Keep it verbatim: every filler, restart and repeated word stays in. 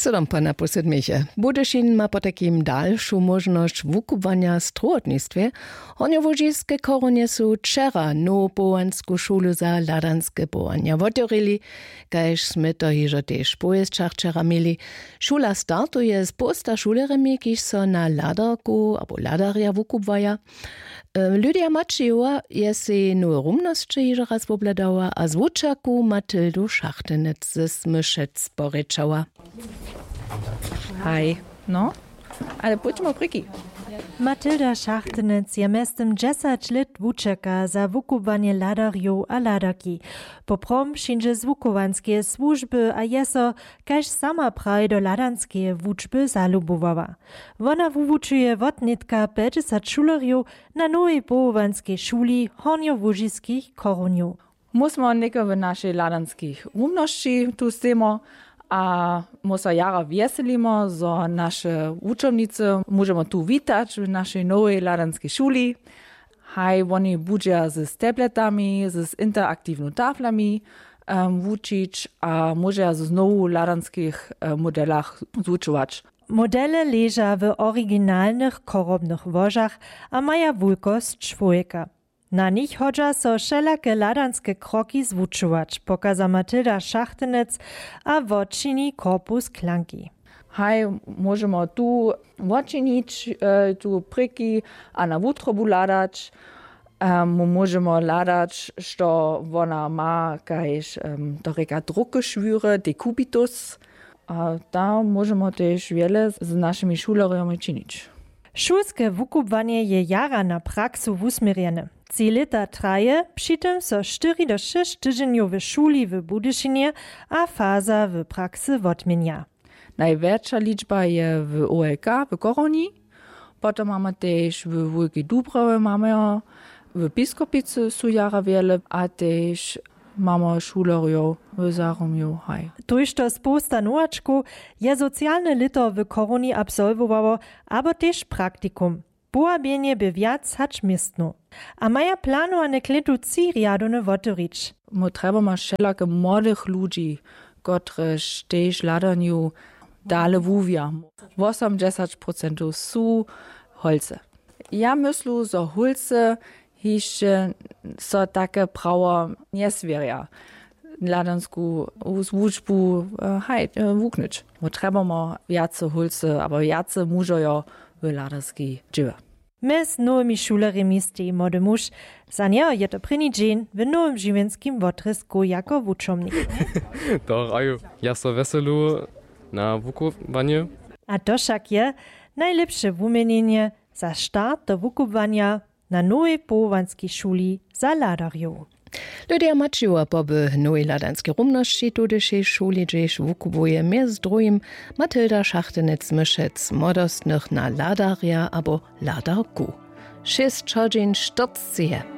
Co tam pana posydmiche? Budyšin ma potajkim dalšu móžnosć wukubłanja w strowotnistwje. Hornjołužiske chorunje su wčera nowopowołansku šulu za hladanske powołanja wotewrěli, kaž smy to hižo tež w powěsćach wčera měli. Šula startuje z połsta šulerjemi, kiž so na hladarku abo hladarja wukubłaja. Lydia Maćijowa je sej nowe rumnosće hižo raz wobhladała a z wučerku Matildu Šachtenec z Myšec porěčała. Haj. No, ale pójdźmy prěki. Matilda Šachtenec je mjeztym dźesać lět wučerka za wukubłanje hladarjow a hladarki. Poprawom přińdźe z wuchowanskeje słužby a je so, kaž sama praji, do hladanskeje wučby zalubowała. Wona wuwučuje wotnětka pjećdźesat šulerjow na nowej powołanskej šuli hornjołužiskich chorunjow. Mósmy něko w našej hladanskich rumnosći tu stejmo a mósa jara wjeselimo, zo naše wučomnicy móžemy tu witać w našej nowej hladanskej šuli. Haj woni budźeja z tabletami, z interaktiwnymi taflami wučić a móžeja z nowu w hladanskich modelach zwučować. Modele leža w originalnych chorobnych łožach a maja wulkosć čłowjeka. Na nich hodźa so wšelake hladanske kroki zwučować, pokaza Matilda Šachtenec a wočini korpus klanki. Haj móžemy tu wočinić, tu prěki a na wutrobu hladać. Móžemy hladać, što wona ma kaž to rěka druke šwěry, dekubitus. A tam móžemy tež wjele z našimi šulerjemi činić. Šulske wukubłanje je jara na praksu wusměrjene. Tři lěta traje, při tym so štyri do šěsć tydźenjow w šuli w Budyšinje a faza w praksy wotměnja. Najwjetša ličba je w olk w chorunji. Potom mamy tež w wulkej dubrowy mamy jo, w piskopicy su jara wjele a tež mamy šulerjow w zaromju haj. Tójšto społsta nowačkow je socialne lěto w chorunji absolwowało abo tež praktikum. Połabjenje bě wjac hač městnu a maja planowane klětu tři rjadowne wotewrić. My trjebamy wšelake młodych ludźi, kotrež tež hladanju dale wuwja. Wosomdźesać procentow su holcy. Ja myslu, zo holcy hišće so take prawo njeswěrja hladansku wučbu haj wuknyć. My trjebamy wjace holcy abo wjace mužojo w hladanskej dźěłje. Mjez nowymi šulerjemi steji młody muž. Za njeho je to prěni dźeń w nowym žiwjenskim wotrězku jako wučomnik. Doch aju, ja so wjeselu na wukubłanje. A to wšak je najlěpše wuměnjenje za start do wukubłanja na nowej powołanskej šuli za hladarjow. Lydia Maćijowa poby w nowej hladanskej rumnosći tudyšej šuli hdźež wukubłuje mjez druhim Matilda Šachtenec-Myšec młodostnych na hladarja abo hladarku. Šěsć hodźin štyrceje.